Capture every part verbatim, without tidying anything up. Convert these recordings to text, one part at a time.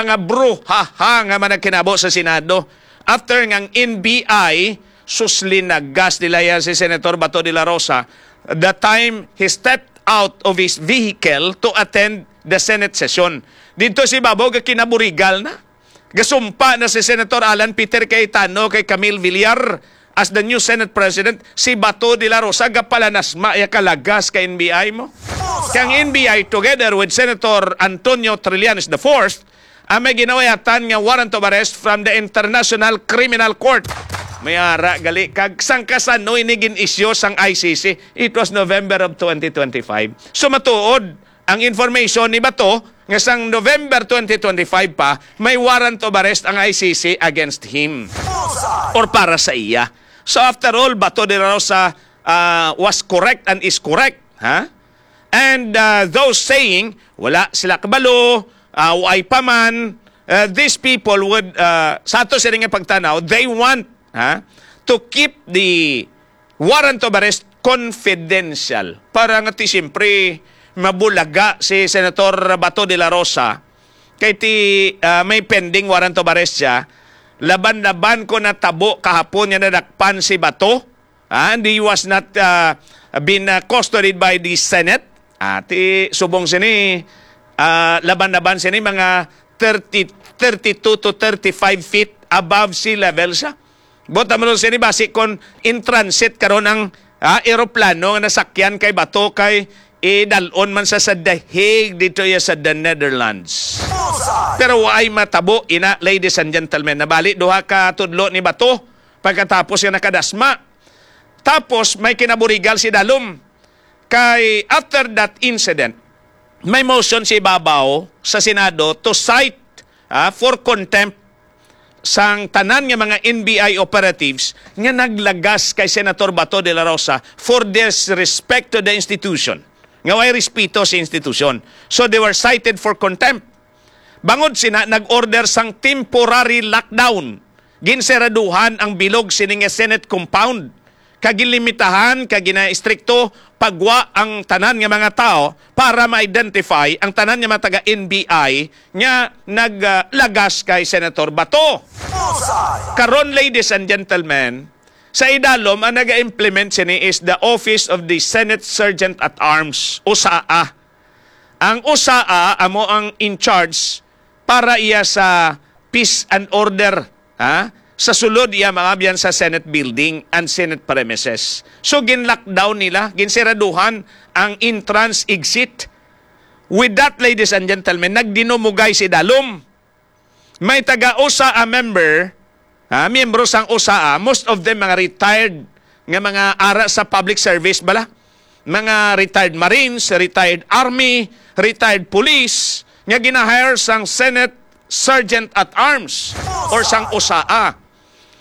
nga bruhaha nga managkinabo sa Senado after nga ang N B I, sus, linagas nila yan si Senator Bato de la Rosa the time he stepped out of his vehicle to attend the Senate session. Dito si Babaw ga kinaburigal na. Gasumpa na si Senator Alan Peter Cayetano kay Camille Villar as the new Senate President. Si Bato de la Rosa gapalanasma ya kalagas kay N B I mo. Kay ang N B I, together with Senator Antonio Trillanes the fourth, ang may ginawayatan nga warrant of arrest from the International Criminal Court. May ara gali kag sangkasano ini gin-isyu sang I C C. It was November of twenty twenty-five. So matuod ang information ni Bato nga sang November twenty twenty-five pa, may warrant of arrest ang I C C against him or para sa iya. So after all, Bato de la Rosa, ah, was correct and is correct, ha? And, ah, those saying, "Wala sila kabalo, ah, way pa man," ah, these people would, ah, sa ato sila nga pagtanaw, they want, ha, to keep the warrant of arrest confidential. Para nga ti, siyempre, mabulaga si Senator Bato de la Rosa. Kay ti, ah, may pending warrant of arrest siya. Laban-laban ko natabo kahapon nga nadakpan si Bato. Ah, and he was not, ah, been, ah, custodied by the Senate. Ah, ti subong sini, ah, laban-laban sini mga thirty, thirty-two to thirty-five feet above sea level siya. Buot mo sini, basi kon in transit karon ang, ah, eroplano nga nasakyan kay Bato kay idalon man sa, sa The Hague dito ya sa the Netherlands. Pero waay matabo ina, ladies and gentlemen. Nabali duha ka tudlo ni Bato pagkatapos nga nakadasma. Tapos may kinaburigal si Dalom. Kay after that incident, may motion si Babaw sa Senado to cite, ah, for contempt sang tanan nga mga N B I operatives nga naglagas kay Senator Bato de la Rosa for disrespect to the institution. Nga way respeto sa institusyon. So they were cited for contempt. Bangod sina nag-order sang temporary lockdown, ginseraduhan ang bilog sini nga Senate compound, kag ginlimitahan kag ginaistrikto pagwa ang tanan nga mga tawo para ma-identify ang tanan nga mga taga N B I nga naglagas kay Senator Bato. Karon, ladies and gentlemen, sa idalom ang naga-implement sini is the Office of the Senate Sergeant at Arms, usaa. Ang usaa amo ang in charge para iya sa peace and order, ha? Sa sulod iya maabyan sa Senate building and Senate premises. So, gin-lockdown nila, ginseraduhan ang entrance exit. With that, ladies and gentlemen, nagdinumugay si Dalom. May taga usaa member, ha, miyembro sang usaa, most of them mga retired nga mga ara sa public service bala. Mga retired Marines, retired Army, retired Police, nga gina-hire sang Senate Sergeant at Arms or sang usaa.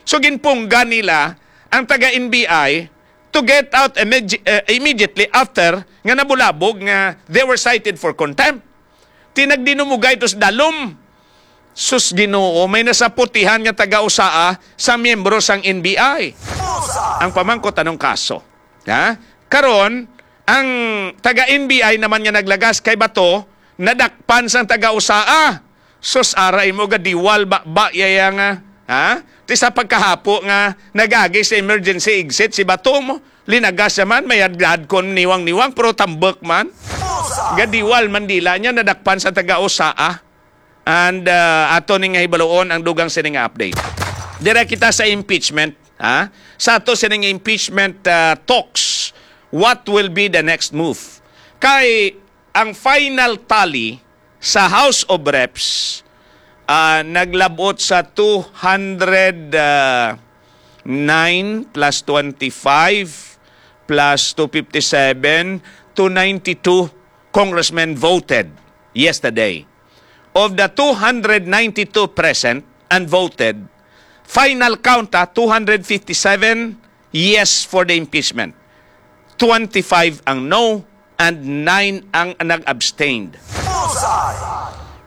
So, ginpunggan nila ang taga N B I to get out immedi-, eh, immediately after nga nabulabog nga they were cited for contempt. Ti nagdinumugay to sa Dalom. Sus Ginoo, may nasaputihan nga taga-usaa sa miyembro sang N B I. Ang pamangkot anong kaso? Ha? Karon, ang taga-N B I naman nga naglagas kay Bato, nadakpan sang taga-usaa. Sus, ara imo ga diwal ba, ba yaya nga, ha? Ti sa pagkahapo nga nagagi sa emergency exit si Bato mo, linagas naman, may adlad kon niwang-niwang, pero tambok man. Gadiwal man dila niya, nadakpan sa taga-usaa. And, uh, ato ning hibaluon ang dugang sini nga update. Dire kita sa impeachment, ha? Sa ato sining impeachment, uh, talks, what will be the next move? Kay ang final tally sa House of Reps, uh, naglabot sa two hundred nine plus twenty-five plus two fifty-seven, two ninety-two congressmen voted yesterday. Of the two hundred ninety-two present and voted, final count, ah, two hundred fifty-seven yes for the impeachment, twenty-five ang no, and nine ang nag-abstained.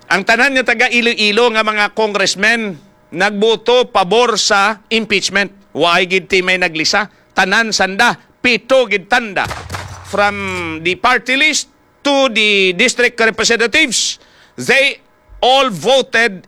Ang tanan nga taga Iloilo nga mga congressmen nagboto pabor sa impeachment. Waay gid ti may naglisa. Tanan sanda, pito gid tanda. From the party list to the district representatives, they all voted